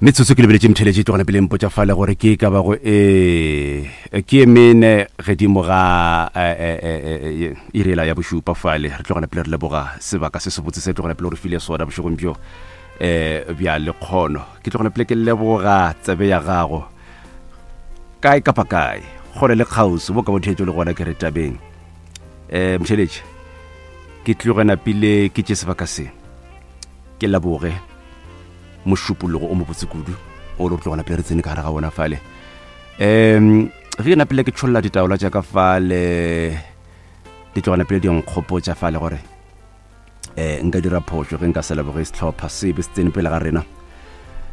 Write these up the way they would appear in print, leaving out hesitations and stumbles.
Metsotso ke lebeletše mtheletše tlogela pele mpotša fale gore ke ka bago e ke e mene gedimo ga irela ya bošupa fale re tlogela pele re leboga sebaka se sebotse se tlogela pele gore file sona bošegong bjo um bja lekgono ke tlogela pele ke leboga tsebe ya gago kae kapa kae kgole le kgauswi bo ka bo theetšo le gona ke re tabeng um mtheletše ke tloge napile ke tše sebaka se ke leboge mošupologo o mobotse kudu o le tlogela pele re tsene ka gare ga bona fale um ge ke napile ke tšholla ditaola tša ka fale di tlogela pele di nkgopotša fale gore um nka dira phošo ge nka se leboge sehlopha sebe se tsene pele ga rena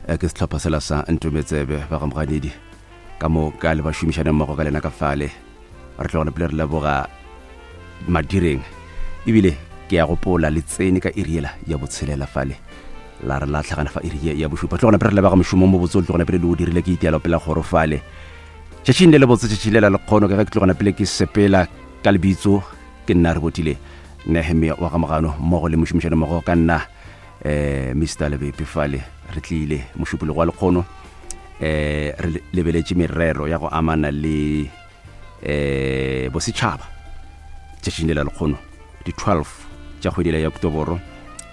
um ke sehlopha sela sa ntometsebe ba gamoganedi ka mo ka le ba šomišane mmogo ka lena ka fale re tlogela pele re leboga madireng ebile ke ya gopola le tsene ka iri yela ya botshelela fale la re la tlhagana fa iri ya bošupa tlogela pele re leboga mošomo mo botse o tlogela pele le o dirile ke itialo pela kgoro fale tšatšing le le botse tšatši le la lekgono ka ge ke tlogela pele ke sepela ka lebitso ke nna re botile nehemia wa gamogano mmogo le mošomišane mmogo ka nna um mr lebepe fale re tlile mošupologo wa lekgono eh re lebeletše merero ya go amana le eh bosetšhaba tšatšing le la lekgono di 12 tša kgwedi ya oktoboro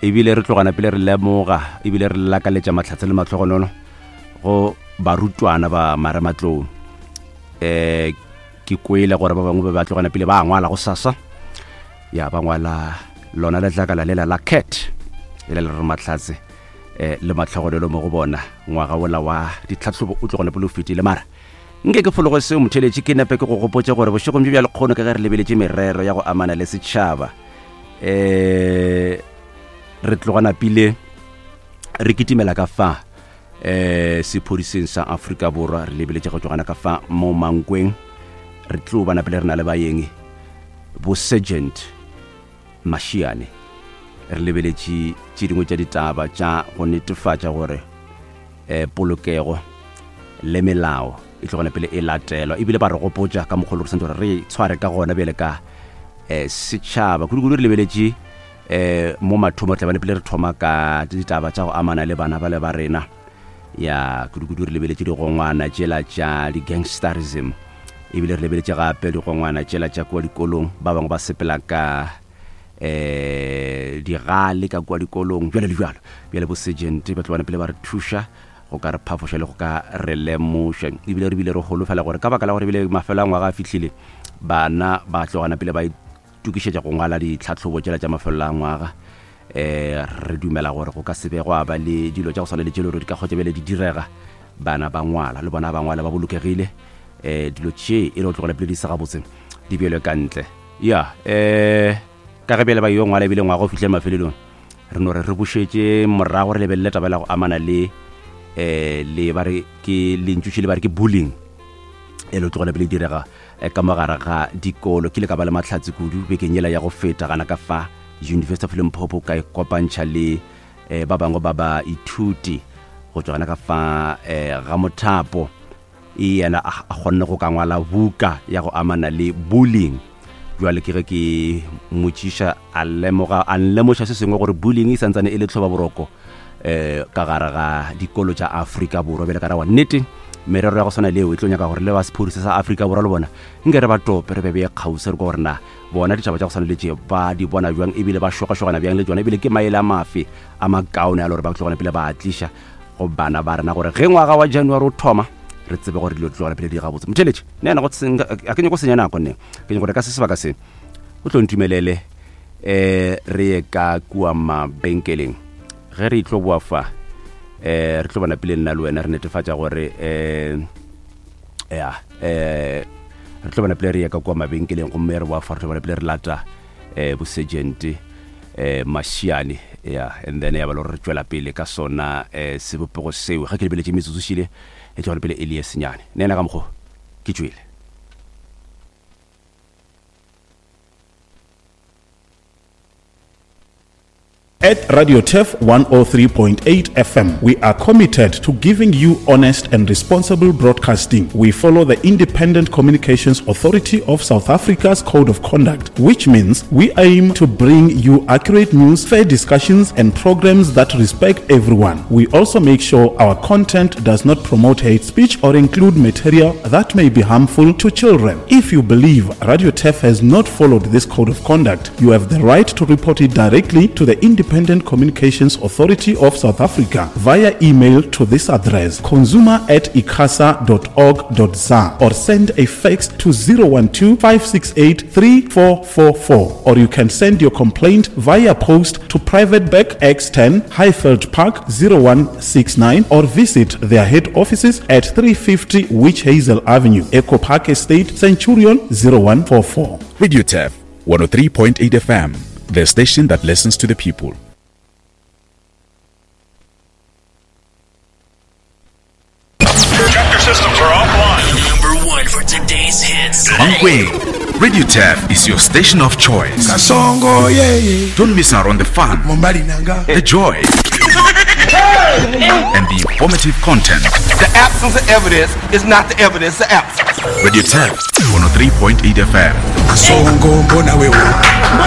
ebile re tlogana pele re lemoga ebile re lakaletša mahlatse le matlhogonono go barutwana ba marematlou eh ke kwele gore ba bangwe ba ba tlogana pele ba ngwala go sasa ya ba ngwala lona letlakala lela la cat e le le re mahlatse eh le matlhogonolo mo go bona ngwaga wola wa ditlhatlhobo o tlogone pele o fetile mara nke ke fologo seo motheletše ke nepe ke go gopotše gore bošegong bjo bja lekgono ka ge re lebeletše merero ya go amana le setšhaba um re tloga napile re kitimela ka fa um sephodiseng sa Afrika Borwa re lebeletše go tlogana ka fa mo Mankweng re tlo ba napile re na le baeng bo sergeant Mashiane re lebeletše tše dingwe tša ditaba tša go netefatša gore um polokego le melao e tlogana pele e latelwa ebile ba re gopotša ka mokgwa re santse gore re tshware ka gona bjale ka um setšhaba kudu-kudu re lebeletše um mo mathomo re tlabane pele re thoma ka ditaba tša go amana le bana ba le ba rena ya kudu-kudu re lebeletše digongwana tšela tša di-gangsterism ebile re lebeletše gape digongwana tšela tša kua dikolong ba bangwe ba sepela ka eh digale ka kua dikolong jalo le jalo bjale bo sergeant ba tlobane pele ba re thuša go ka re phafoša le go ka re lemoša ebile re bile re holofela gore ka baka la gore ebile mafelo a ngwaga a fihlile bana ba tlogana pele ba itokišetša go ngwala ditlhahlobo tšela tša mafelelo a ngwaga um re dumela gore go ka se be gwa ba le dilo tša go swana le tšelo gore di ka kgotsa bjale di direga bana ba ngwala le bona ba ngwala ba bolokegile um dilo tše e le go tlogela pele di sa gabotse di beelwe ka ntle ya um ka ge bjale ba yo ngwala ebile ngwaga o fihle mafelelong re no re re bušetše morago re lebelele taba la go amana le um le ba re ke lentšuši le ba re ke bullying e le tlogela pele direga eh, ka mogare ga dikolo ke ile ka ba le mahlatse kudu bekeng yela ya go feta gana ka fa University of Limpopo ka ikopantšha le eh, ba bangwe ba baithuti go tšwa gana ka fa eh, ga mothapo e yena a kgonne go ka ngwala buka ya go amana le bullying jwale ke ge ke motšiša a lemoga a nlemoša se sengwe gore bullying e santsane e le tlhoba boroko eh ka gare ga dikolo tša Afrika Borwa bjale ka ra wa nnete merero ya go swana leo e tlo nyaka gore le ba sephodisa sa Afrika Borwa le bona nke re ba tope re be beye kgauswi re kwa gore na bona ditaba tša go swana le tše ba di bona bjang ebile ba šogašogana bjang le tšona ebile ke maele a mafe a makaone a le gore ba tlogana pele ba a tliša go bana ba rena gore ge ngwaga wa January o thoma re tsebe gore dilo di tlogana pele di gabotse motheletše nna ena a ke nyako senya nako nne ke nyako gore ka se sebaka se o tlo ntumelele eh re ye ka kua mabenkeleng ge re tlo boa fa eh re tlo bona pele nna le wena re netefatša gore eh ya eh re tlo bona pele re ye ka kua mabenkeleng gomme re boa fa re tlo bona pele re lata eh bosergeant eh Mashiane ya and then ya ba le gore re tšwela pele ka sona eh sebopego seo ge ke lebeletše metsotso šile e tlo pele e le ye senyane nna ena ka mokgo ke tšwele. At Radio Turf 103.8 FM, we are committed to giving you honest and responsible broadcasting. We follow the Independent Communications Authority of South Africa's Code of Conduct, which means we aim to bring you accurate news, fair discussions, and programs that respect everyone. We also make sure our content does not promote hate speech or include material that may be harmful to children. If you believe Radio Turf has not followed this code of conduct, you have the right to report it directly to the Independent Communications Authority of South Africa via email to this address consumer at icasa.org.za or send a fax to 012 568 3444 or you can send your complaint via post to Private Bag X10 Highveld Park 0169 or visit their head offices at 350 Witch Hazel Avenue, Echo Park Estate, Centurion 0144. Radio Turf 103.8 FM, the station that listens to the people. Check your systems are offline. Number one for today's hits. Mankweng, Radio Turf is your station of choice. Kasongo, yeah, yeah. Don't miss out on the fun, Mombalinanga. the joy, and the informative content. The absence of evidence is not the evidence of absence. Radio Turf 103.8 FM. Kasongo, mbona wewe.